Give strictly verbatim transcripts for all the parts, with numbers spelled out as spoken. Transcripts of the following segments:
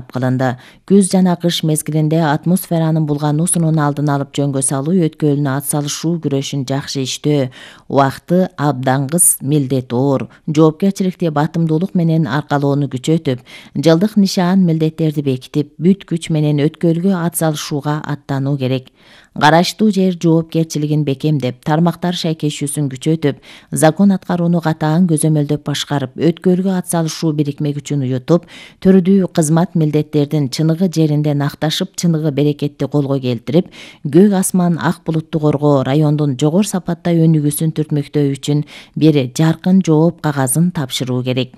кылынды. Күз жана кыш мезгилинде атмосферанын булгануусунун алдын алып жөнгө салуу өткөлүнө ат салышуу күрөшүн жакшы иштөө, убакыты абдан кыс, милдети оор, жоопкерчиликти батымдуулук менен аркалоону күчөтүп, жылдык нишан милдеттерди бекитип, бүт күч менен өткөлгө ат салышууга аттануу керек. Караштуу жер жоопкерчилигин бекемдеп, тармактар шайкешүүсүн күчөтүп, закон аткарууну катаан көзөмөлдөп башкарып, өткөлгө ат салышуу бирикме күчүн уютуп, түрдүү кызмат милдеттердин чыныгы жеринде накташып, чыныгы берекетти колго келтирип, көк асман ак булутту коргоо, райондун жогору сапатта өнүгүүсүн түртмөктөө үчүн бир жаркын жооп кагазын тапшыруу керек.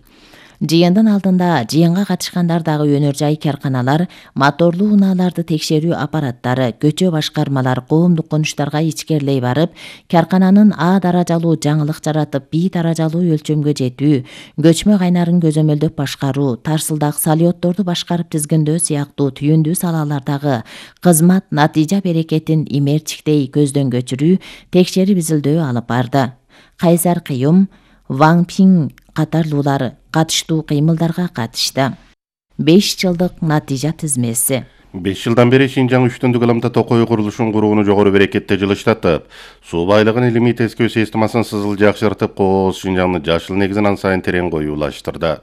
Жыйындын алдында жыйынга катышкандар дагы өнөр жай карканалар, моторлуу унааларды текшерүү аппараттары, көчө башкармалар коомдук конуштарга ичкерлей барып, каркананын А даражалуу жаңылык жаратып, Б даражалуу өлчөмгө жетүү, көчмө кайнарын көзөмөлдөп башкаруу, тарсылдак салиотторду башкарып тизгиндөө сыяктуу түйүндүү салалардагы кызмат натыйжа берекетин имерчиктей көздөн көчүрүү, текшерип изилдөө алып барды. Кайсар Кыюм, Ван Пиң катарлуулар катыштуу кыймылдарга катышты. беш жылдык натыйжа тизмеси. беш жылдан бери Шинжаң үч түндүк ылымда токой курулушун курууну жогору берекетте жылыштатып, суу байлыгын илимий тескөө системасын сызыл жакшыртып, кооз Шинжаңдын жашыл негизин ан сайын терең коюулаштырды.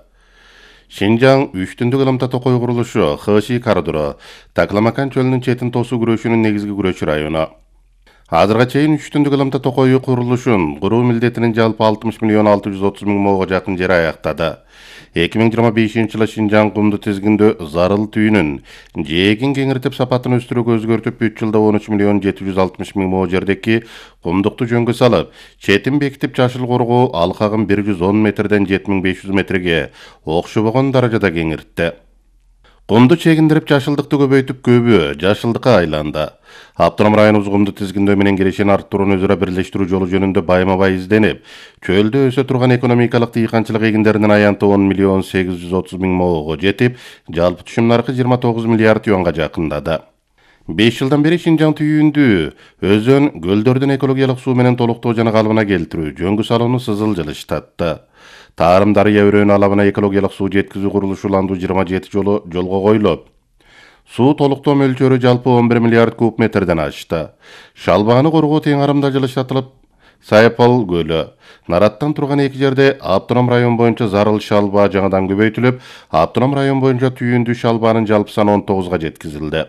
Шинжаң үч түндүк ылымда токой курулушу Хэши коридору, Такламакан чөлүнүн четин тосуу күрөшүнүн негизги күрөчү району. Азырга чейин үч түндүк ылымда токой курулушун куруу милдетинин жалпы алтымыш миллион алты жүз отуз миң моого жакын жери аяктады. эки миң жыйырма бешинчи жылы Шинжаң кумду тизгиндөө зарыл түйүнүн жээгин кеңиртип сапатын өстүрүүгө өзгөртүп, үч жылда он үч миллион жети жүз алтымыш миң мо жердеки кумдукту жөнгө салып, четин бекитип жашыл коргоо алкагын бир жүз он метрден жети миң беш жүз метрге окшобогон даражада кеңиртти. Кумду чегиндирип жашылдыкты көбөйтүп, көбү жашылдыкка айланды. Автоном районубуз кумду тизгиндөө менен кирешин арттырууну өзара бирлештирүү жолу жөнүндө байма-бай изденип, чөлдө өсө турган экономикалык дыйканчылык эгиндеринин аянты он миллион сегиз жүз отуз миң моого жетип, жалпы түшүм наркы жыйырма тогуз миллиард юанга жакындады. беш жылдан бери Шинжаң түйүндүү өзөн, көлдөрдүн экологиялык суу менен толуктоо жана калыбына келтирүү, жөнгө салууну сызыл жылыштатты. Тарым Дарыя өрөөнү алабына экологиялык суу жеткизүү курулушу уландуу жыйырма жети жолу жолго коюлуп, суу толуктоо мөлчөрү жалпы он бир миллиард куб метрден ашты. Шалбааны коргоо тең арымда жылыштатылып, Сайпал көлү, Нараттан турган эки жерде автоном район боюнча зарыл шалбаа жаңыдан көбөйтүлүп, автоном район боюнча түйүндүү шалбаанын жалпы саны он тогузга жеткизилди.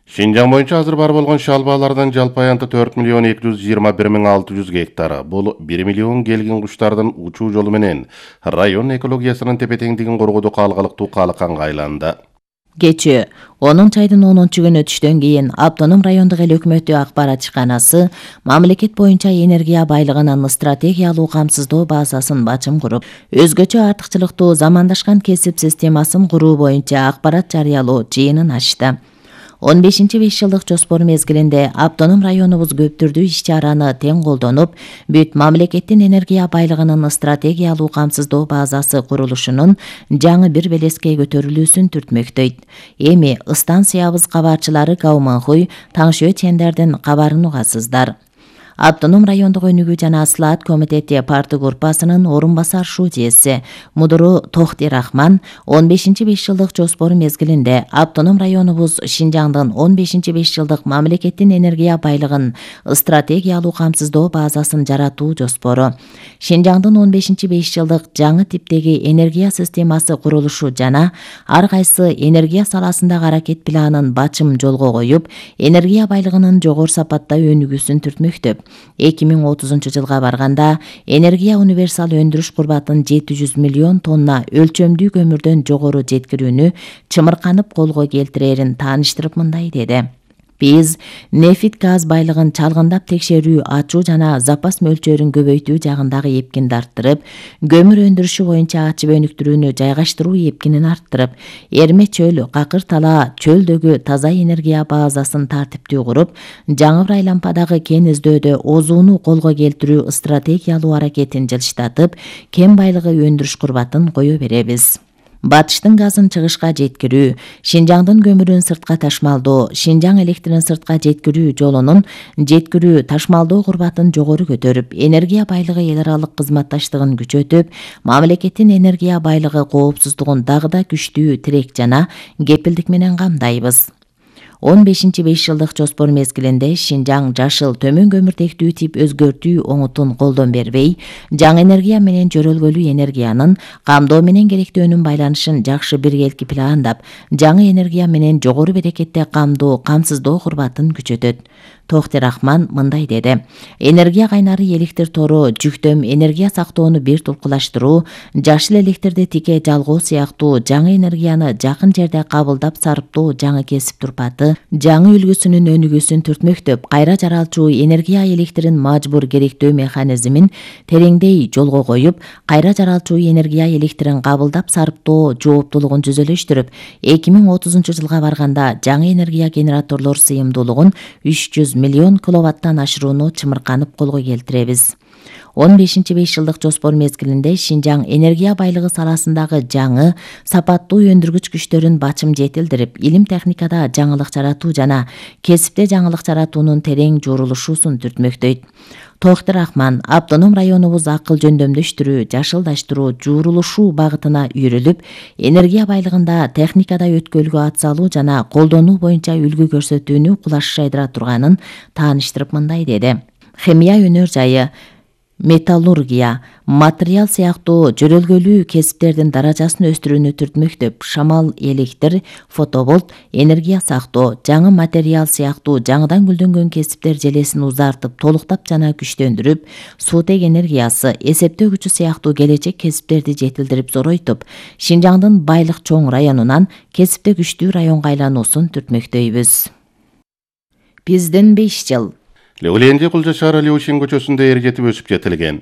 Шинжаң боюнча азыр бар болгон шалбаалардын жалпы аянты төрт миллион эки жүз жыйырма бир миң алты жүз гектар. Бул бир миллион келгин куштардын учуу жолу менен район экологиясынын тепе-теңдигин коргоодо калгалыктуу калыканга айланды. Кечээ онунчу айдын онунчу күнү түштөн кийин Автоном райондук эл өкмөтү акпарат чыканасы мамлекет боюнча энергия байлыгынын стратегиялуу камсыздоо базасын бачым куруп, өзгөчө артыкчылыктуу замандашкан кесип системасын куруу боюнча акпарат жарыялоо жыйынын ачты. он бешинчи беш жылдык жоспор мезгилинде Автоном районубуз көп түрдүү иш-чараны тең колдонуп, бүт мамлекеттин энергия байлыгынын стратегиялуу камсыздоо базасы курулушунун жаңы бир белеске көтөрүлүүсүн түртмөктөйт. Эми станциябыз кабарчылары Кауманхуй, Таңшө Чендердин кабарын угасыздар. Автоном райондук өнүгүү жана слаат комитети парты группасынын орун басар шуудиеси Мудуру Тохти Рахман он бешинчи беш жылдык жоспор мезгилинде Автоном районубуз Шинжаңдын он бешинчи беш жылдык мамлекеттин энергия байлыгын стратегиялуу камсыздоо базасын жаратуу жоспору, Шинжаңдын он бешинчи беш жылдык жаңы типтеги энергия системасы курулушу жана ар кайсы энергия саласындагы аракет планын бачым жолго коюп, энергия байлыгынын жогору сапатта өнүгүүсүн түртмөктөп, эки миң отузунчу жылга барганда энергия универсал өндүрүш курбатын жети жүз миллион тонна өлчөмдүү көмүрдөн жогору жеткирүүнү чымырканып колго келтирерин тааныштырып мындай деди. Биз нефит газ байлыгын чалгындап текшерүү, ачуу жана запас мөлчөрүн көбөйтүү жагындагы эпкинди арттырып, көмүр өндүрүшү боюнча ачып өнүктүрүүнү жайгаштыруу эпкинин арттырып, Эрме чөл, Какыр Тала чөлдөгү таза энергия базасын тартиптүү куруп, Жаңы Айлампадагы кен издөөдө озууну колго келтирүү стратегиялуу аракетин жылыштатып, кен байлыгы өндүрүш курбатын кое беребиз. батыштын газын чыгышка жеткирүү, Шинжаңдын көмүрүн сыртка ташмалдоо, Шинжаң электрин сыртка жеткирүү жолунун жеткирүү ташмалдоо курбатын жогору көтөрүп, энергия байлыгы эл аралык кызматташтыгын күчөтүп, мамлекеттин энергия байлыгы коопсуздугун дагы да күчтүү тирек жана кепилдик менен камдайбыз. он бешинчи беш жылдык жоспор мезгилинде Шинжаң жашыл төмөн көмүртектүү тип өзгөртүү оңутун колдон бербей, жаңы энергия менен жөрөлгөлүү энергиянын камдоо менен керектөөнүн байланышын жакшы биргелки пландап, жаңы энергия менен жогору берекетте камдоо, камсыздоо курбатын күчөтөт. Тохти Рахман мындай деди: энергия кайнары электр тору, жүктөм энергия сактоону бир тулкулаштыруу, жашыл электрди тике жалгоо сыяктуу жаңы энергияны жакын жерде кабылдап сарптоо жаңы кесип турпаты, жаңы үлгүсүнүн өнүгүүсүн түртмөктөп, кайра жаралчу энергия электрин мажбур керектөө механизмин тереңдей жолго коюп, кайра жаралчу энергия электрин кабылдап сарптоо жооптулугун жүзөлөштүрүп, эки миң отузунчу жылга барганда жаңы энергия генераторлор сыйымдуулугун үч жүз миллион киловаттан ашырууну чымырканып колго келтиребиз. он бешинчи беш жылдык жоспор мезгилинде Шинжаң энергия байлыгы саласындагы жаңы, сапаттуу өндүргүч күчтөрүн бачым жетилдирип, илим техникада жаңылык жаратуу жана кесипте жаңылык жаратуунун терең журулушуусун түртмөктөйт. Тохти Рахман автоном районубуз акыл жөндөмдөштүрүү, жашылдаштыруу, журулушуу багытына үйрүлүп, энергия байлыгында техникада өткөлгө ат салуу жана колдонуу боюнча үлгү көрсөтүүнү кулаш жайдыра турганын тааныштырып мындай деди: химия өнөр жайы, металлургия, материал сыяктуу жөрөлгөлүү кесиптердин даражасын өстүрүүнү түртмөктөп, шамал электр, фотоболт, энергия сактоо, жаңы материал сыяктуу жаңыдан гүлдөнгөн кесиптер желесин узартып, толуктап жана күчтөндүрүп, суутек энергиясы, эсептөө күчү сыяктуу келечек кесиптерди жетилдирип зоройтуп, Шинжаңдын байлык чоң районунан кесипте күчтүү районго айлануусун түртмөктөйбүз. Биздин беш жыл. Леуленди Кулжа шаары Леушин көчөсүндө эр жетип өсүп жетилген.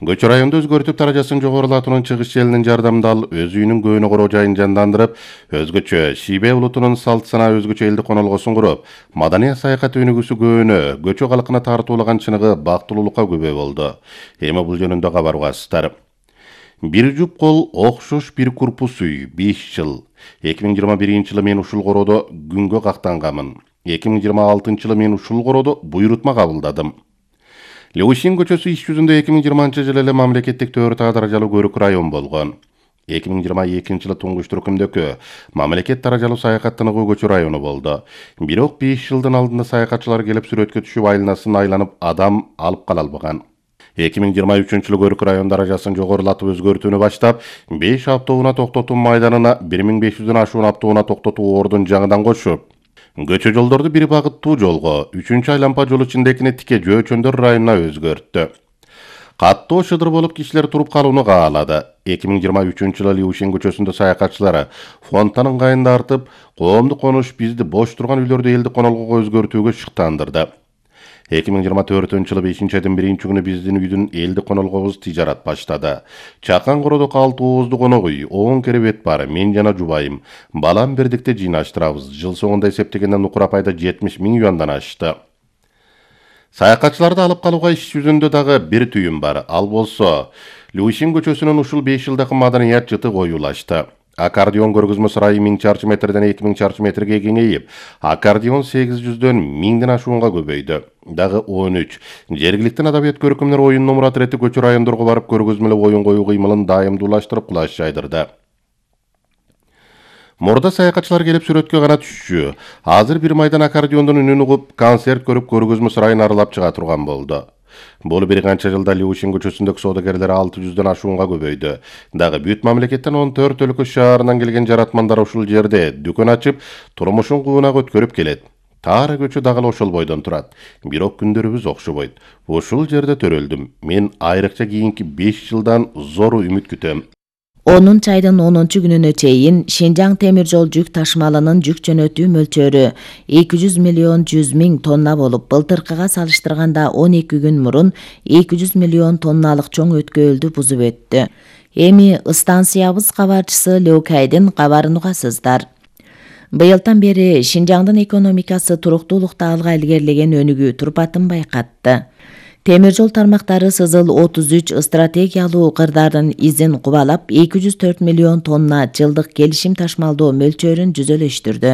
Көчө районду өзгөртүп даражасын жогорулатуунун чыгыш желинин жардамында ал өз үйүнүн көөнү короо жайын жандандырып, өзгөчө Шибе улутунун салт санаа өзгөчө элдик конолгосун куруп, маданий саякат өнүгүүсү көөнү, көчө калкына тартуулаган чыныгы бактылуулукка күбө болду. Эми бул жөнүндө кабар угасыздар. Бир жуп кол окшош бир корпус үй, беш жыл. эки миң жыйырма биринчи жылы мен ушул короодо күнгө кактангамын. эки миң жыйырма алтынчы жылы мен ушул короодо буйрутма кабылдадым. Леушин көчөсү иш жүзүндө эки миң жыйырманчы жылы эле мамлекеттик төрт А даражалуу көрүк район болгон. эки миң жыйырма экинчи жылы туңгуч түркүмдөгү мамлекет даражалуу саякаттануу көчө району болду. Бирок беш жылдын алдында саякатчылар келип сүрөткө түшүп айланасын айланып адам алып кала албаган. эки миң жыйырма үчүнчү жылы көрүк район даражасын жогорулатып өзгөртүүнү баштап, беш автоунаа токтотуу майданына бир миң беш жүздөн ашуун автоунаа токтотуу ордун жаңыдан кошуп, көчө жолдорду бир багыттуу жолго, үчүнчү айлампа жол ичиндекини тике жөөчөндөр районуна өзгөрттү. Каттоо шыдыр болуп кишилер туруп калууну каалады. эки миң жыйырма үчүнчү жылы Леушин көчөсүндө саякатчылары фондтан ыңгайында артып, коомдук конуш bizди бош турган үйлөрдү элдик конолгого өзгөртүүгө шыктандырды. эки миң жыйырма төртүнчү жылы бешинчи айдын биринчи күнү биздин үйдүн элдик конолгобуз тижарат баштады. Чакан кородок алты ооздуу конок үй, он керебет бар, мен жана жубайым. Балам бирдикте жыйнаштырабыз. Жыл соңунда эсептегенден укур пайда жетимиш миң юандан ашты. Саякатчыларды алып калууга иш жүзүндө дагы бир түйүм бар. Ал болсо, Леушин көчөсүнүн ушул беш жылдагы маданият жыты коюлашты. Аккордеон көргөзмө сарайы миң чарчы метрден эки миң чарчы метрге кеңейип, аккордеон сегиз жүздөн миңден ашуунга көбөйдү. Дагы он үч. Жергиликтин адабият көркөмдөр оюнунун мурат ирети көчө райондорго барып көргөзмөлөп оюн коюу кыймылын дайымдуулаштырып кулаш жайдырды. Мурда саякатчылар келип сүрөткө гана түшчү. Азыр бир майдан аккордеондун үнүн угуп, концерт көрүп көргөзмө сарайын аралап чыга турган болду. Бул бир канча жылда Леушин көчөсүндөгү соодагерлер алты жүздөн ашуунга көбөйдү. Дагы бүт мамлекеттен он төрт өлкө шаарынан келген жаратмандар ушул жерде дүкөн ачып, турмушун куунак өткөрүп келет. Таары көчө дагы ошол бойдон турат. Бирок күндөрүбүз окшобойт. Ушул жерде төрөлдүм. Мен айрыкча кийинки беш жылдан зор үмүт күтөм. онунчу айдын онунчу күнүнө чейин Шинжаң темир жол жүк ташмалынын жүк жөнөтүү мөлчөрү эки жүз миллион жүз миң тонна болуп, былтыркыга салыштырганда он эки күн мурун эки жүз миллион тонналык чоң өткөлдү бузуп өттү. Эми станциябыз кабарчысы Леукайдын кабарын угасыздар. Быйылдан бери Шинжаңдын экономикасы туруктуулукта алга илгерилеген өнүгүү турпатын байкатты. Темир жол тармактары Сызыл отуз үч стратегиялуу кырдаардын изин кубалап эки жүз төрт миллион тонна жылдык келишим ташмалдоо мөлчөрүн жүзөлөштүрдү.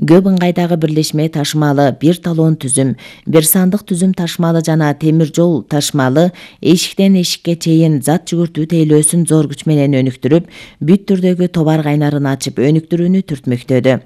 Көп ыңгайдагы бирлешме ташмалы бир талон түзүм, бир сандык түзүм ташмалы жана темир жол ташмалы эшиктен эшикке чейин зат жүгүртүү тейлөөсүн зор күч менен өнүктүрүп, бүт түрдөгү товар кайнарын ачып өнүктүрүүнү түртмөктөдү.